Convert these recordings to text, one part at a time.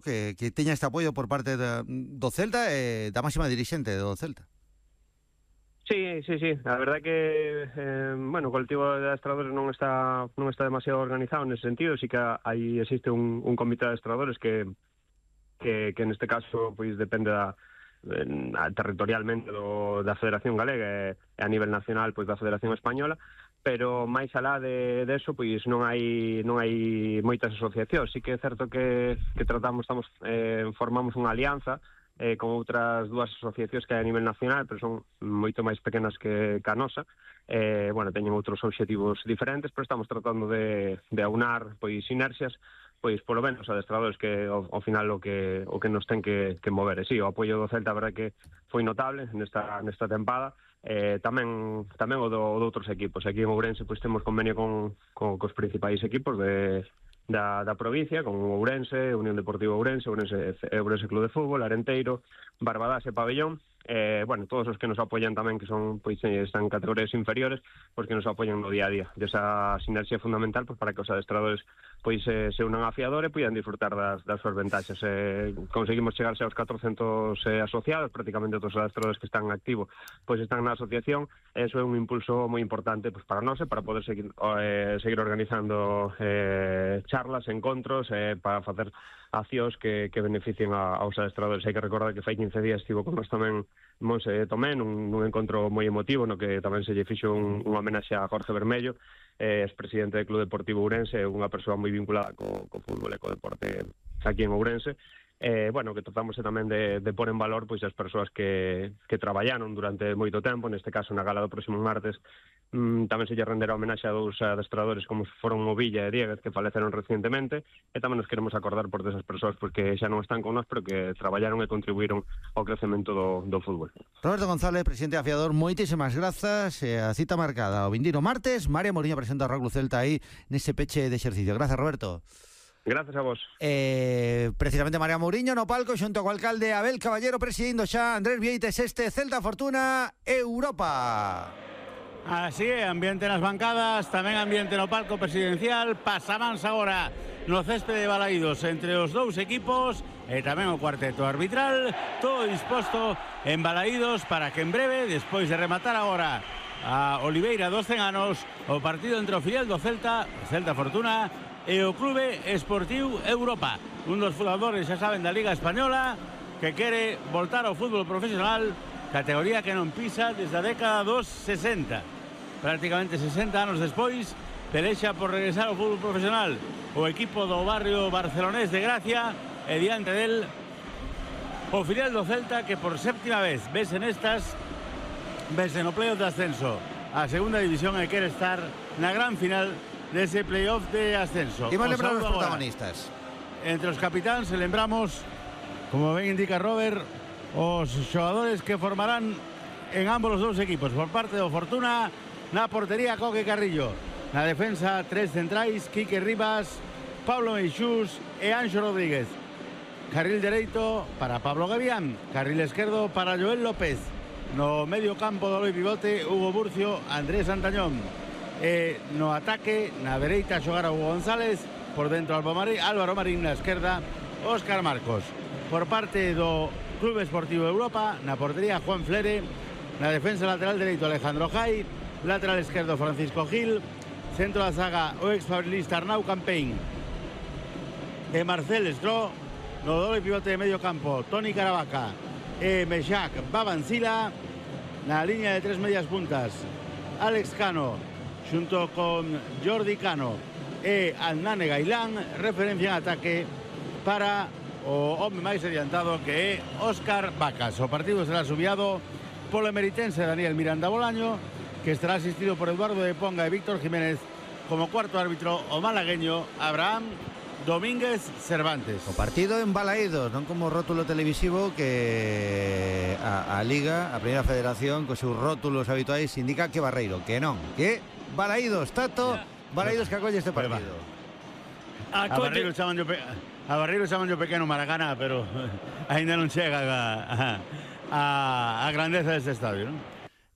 que teña este apoio por parte do Celta e da máxima dirixente do Celta. Sí. A verdade que, o colectivo de adestradores non está demasiado organizado nese sentido. Sí que aí existe un comité de adestradores que neste caso pois depende territorialmente da Federación Galega e a nivel nacional pois da Federación Española, pero máis alá de eso pois non hai moitas asociacións. Sí que é certo que formamos unha alianza con outras dúas asociacións que hai a nivel nacional, pero son moito máis pequenas que a nosa. Teñen outros obxectivos diferentes, pero estamos tratando de aunar pois sinerxias, pois polo menos adestradores que ao final o que nos ten que mover. E si, o apoio do Celta, a verdade que foi notable nesta tempada. Tamén o de outros equipos. Aquí en Ourense pois temos convenio cos principais equipos da provincia, con Ourense, Unión Deportiva Ourense, Ourense Club de Fútbol, Arenteiro, Barbadás e Pabellón. Todos os que nos apoian tamén, que son pois están en categorías inferiores, pois que nos apoian no día a día. Esa sinerxia é fundamental pois para que os adestradores pois se unan a fiador e poidan disfrutar das súas ventaxas. Conseguimos chegarse aos 400 asociados, prácticamente todos os adestradores que están en activo pois están na asociación. Eso é un impulso moi importante pois para nós e para poder seguir organizando charlas, encontros, para facer accións que beneficien aos adestradores. Hai que recordar que fai 15 días estivo con nós tamén Monse Tomé nun encontro moi emotivo no que tamén se lle fixo unha homenaxe a Jorge Bermello, expresidente do Club Deportivo Ourense, unha persoa moi vinculada co fútbol e co deporte aquí en Ourense. Que tratamos tamén de pôr en valor pois as persoas que traballaron durante moito tempo, neste caso na gala do próximo martes. Tamén se lle renderá homenaxe a dous adestradores como foron Movilla e Dieguez, que faleceron recientemente, e tamén nos queremos acordar por desas persoas porque xa non están con nós, pero que traballaron e contribuíron ao crecemento do fútbol. Roberto González, presidente de Afiador, moitísimas grazas. A cita marcada o vindeiro martes. María Mouriño presenta o Rugby Celta aí nese peche de exercicio. Grazas, Roberto. Gracias a vos. Precisamente María Mouriño no palco xunto co alcalde Abel Caballero presidindo xa Andrés Vieites este Celta Fortuna Europa. Así é, ambiente nas bancadas, tamén ambiente no palco presidencial. Pasamáns agora no céspede de Balaídos entre os dous equipos e tamén o cuarteto arbitral, todo disposto en Balaídos para que en breve, despois de rematar agora a Oliveira dos 100 anos, o partido entre o filial do Celta, Celta Fortuna, e o Clube Esportiu Europa, un dos fundadores, xa saben, da Liga Española, que quere voltar ao fútbol profesional, categoría que non pisa desde a década dos 60. Prácticamente 60 anos despois, pelexa por regresar ao fútbol profesional o equipo do barrio barcelonés de Gracia, e diante del o filial do Celta, que por séptima vez vese no playoff de ascenso a segunda división e quere estar na gran final dese playoff de ascenso. Imos lembrar os protagonistas. Entre os capitáns, lembramos, como ben indica Robert, os xogadores que formarán en ambos os dous equipos. Por parte do Fortuna, na portería Coque Carrillo, na defensa tres centrais, Quique Rivas, Pablo Meixús e Anxo Rodríguez. Carril dereito para Pablo Gavián, carril esquerdo para Joel López. No medio campo do loi pivote, Hugo Burcio, Andrés Santañón. E no ataque, na dereita xogar a Hugo González, por dentro Álvaro Marín, na esquerda Óscar Marcos. Por parte do Clube Esportivo Europa, na portería Juan Flere, na defensa lateral dereito Alejandro Jai, lateral esquerdo Francisco Gil, centro da zaga o exfabrilista Arnau Campén e Marcel Estró, no doble pivote de medio campo Toni Caravaca e Meshak Babancila, na liña de tres medias puntas Alex Cano xunto con Jordi Cano e Adnane Gailán, referencia en ataque para o home máis adiantado que é Óscar Vacas. O partido será subiado polo emeritense Daniel Miranda Bolaño, que estará asistido por Eduardo de Ponga e Víctor Jiménez, como cuarto árbitro o malagueño Abraham Domínguez Cervantes. O partido en Balaídos, non como rótulo televisivo que a Liga, a Primeira Federación, cos seus rótulos habituais indica que Barreiro, que non, que Balaídos, Tato, Balaídos que acolle este partido. A Barreiro chaman yo pequeno Maracana, pero ainda non chega a grandeza deste estadio, non?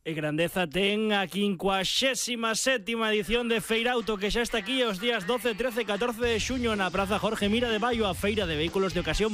E Grandeza ten a 57ª edición de Feirauto, que xa está aquí os días 12, 13 e 14 de xuño na Praza Jorge Mira de Baio, a feira de vehículos de ocasión